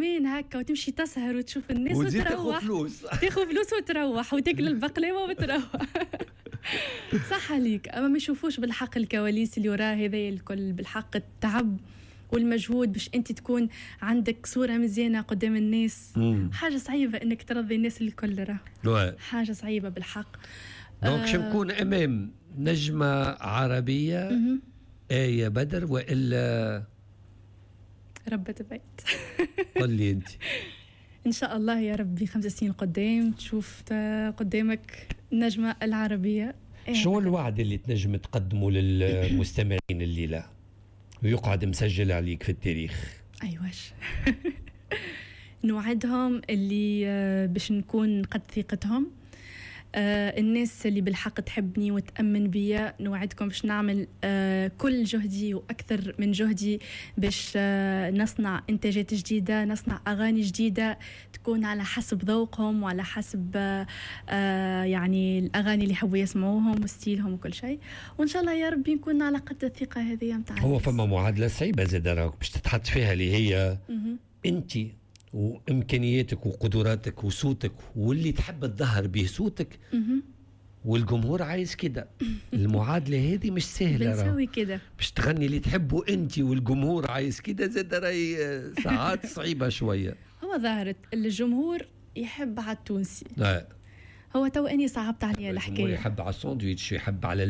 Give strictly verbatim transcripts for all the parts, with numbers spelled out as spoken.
ادمان هكا، وتمشي تسهر وتشوف الناس وتزيد تاخذ وتروح. فلوس. تاخذ فلوس وتروح وتاكل البقلاوه وتروح. صح عليك، اما ما يشوفوش بالحق الكواليس اللي وراه هذا الكل، بالحق التعب والمجهود باش انت تكون عندك صوره مزيانه قدام الناس. مم. حاجة صعيبة انك ترضي الناس الكل، راه oui. حاجة صعيبة بالحق. donc شو نكون امام نجمه عربية آية بدر والا ربة بيت؟ قل لي انت. ان شاء الله يا ربي خمس سنين قدام تشوف قدامك النجمة العربيه. إيه. شو الوعد اللي تنجم تقدمه للمستمعين الليلة ويقعد مسجل عليك في التاريخ؟ ايواش، نوعدهم اللي آه، باش نكون قد ثقتهم. آه الناس اللي بالحق تحبني وتأمن بيا، نوعدكم باش نعمل آه كل جهدي وأكثر من جهدي باش آه نصنع إنتاجات جديدة، نصنع أغاني جديدة تكون على حسب ذوقهم وعلى حسب آه آه يعني الأغاني اللي يحبوا يسمعوهم و style هم وكل شيء، وإن شاء الله يا ربي نكون على قد الثقة هذه متاع هو فما معادلة صعيبة زاد راك باش تتحط فيها، اللي هي أنت وامكانياتك وقدراتك وصوتك واللي تحب تظهر به صوتك، والجمهور عايز كده. المعادلة هذه مش سهله. بنسوي كده. باش تغني اللي تحبه انت والجمهور عايز كده، زاد راهي ساعات صعيبة شويه. هو ظهرت الجمهور يحب على التونسي. لا. هو تو اني صعبت عليا الحكايه. يحب على الساندويتش، يحب على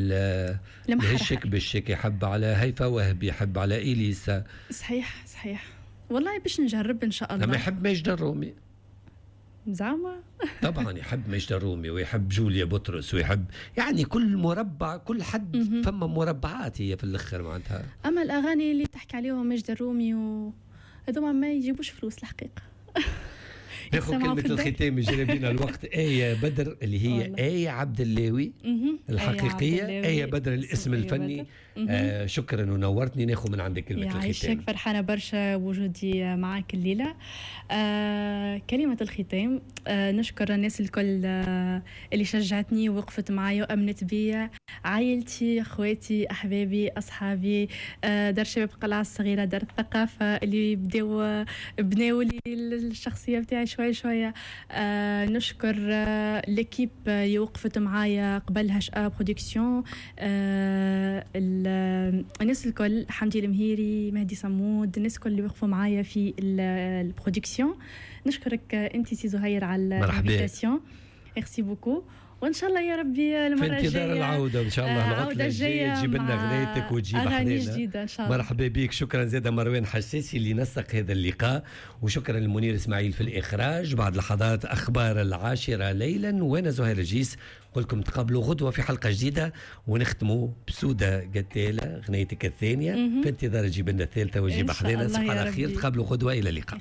الهشك بالشك، يحب على هيفا وهبي، يحب على اليسا. صحيح صحيح، والله باش نجرب ان شاء الله. لما يحب ماجدة الرومي. زعما. طبعا يحب ماجدة الرومي ويحب جوليا بطرس ويحب يعني كل مربع، كل حد فما مربعات هي في الاخر معناتها. اما الاغاني اللي تحكي عليهم ماجدة الرومي و هذوما ما يجيبوش فلوس الحقيقه. ناخذ كلمة الختام، جرى بينا الوقت. آية بدر اللي هي آية عبد اللاوي الحقيقية، آية بدر الاسم الفني. آه شكرا ونورتني. ناخذ من عندك كلمة الختام. يعيشك، فرحانة برشا وجودي معاك الليلة. آه كلمة الختام، آه نشكر الناس الكل آه اللي شجعتني ووقفت معايا وأمنت بيا، عائلتي، اخواتي، احبابي، اصحابي، آه دار شباب القلعة الصغيرة، دار الثقافة اللي بداو بناو لي الشخصية بتاعي شوية شوية. آه نشكر آه l'équipe اللي وقفت معايا قبل هاش ا production، آه الناس الكل، حمدي المهيري، مهدي صمود، الناس الكل اللي وقفوا معايا في ال production. نشكرك انت سي زهير على l'invitation، merci beaucoup، وان شاء الله يا ربي المرة الجاية في انتظار العودة ان شاء الله. العودة الجاية تجيب لنا غنايتك وتجيب اغاني جديدة ان شاء الله. مرحبا بك. شكرا زاده مروان حساسي اللي نسق هذا اللقاء، وشكرا للمنير اسماعيل في الاخراج. بعد لحظات اخبار العاشرة ليلا، وانا زهير الجيس نقول لكم تقابلوا غدوه في حلقة جديده، ونختموا بسوده قتاله غنايتك الثانية، في انتظار تجيب لنا الثالثة وتجيب حذانا. تصبح على خير، تقابلوا غدوه، الى اللقاء.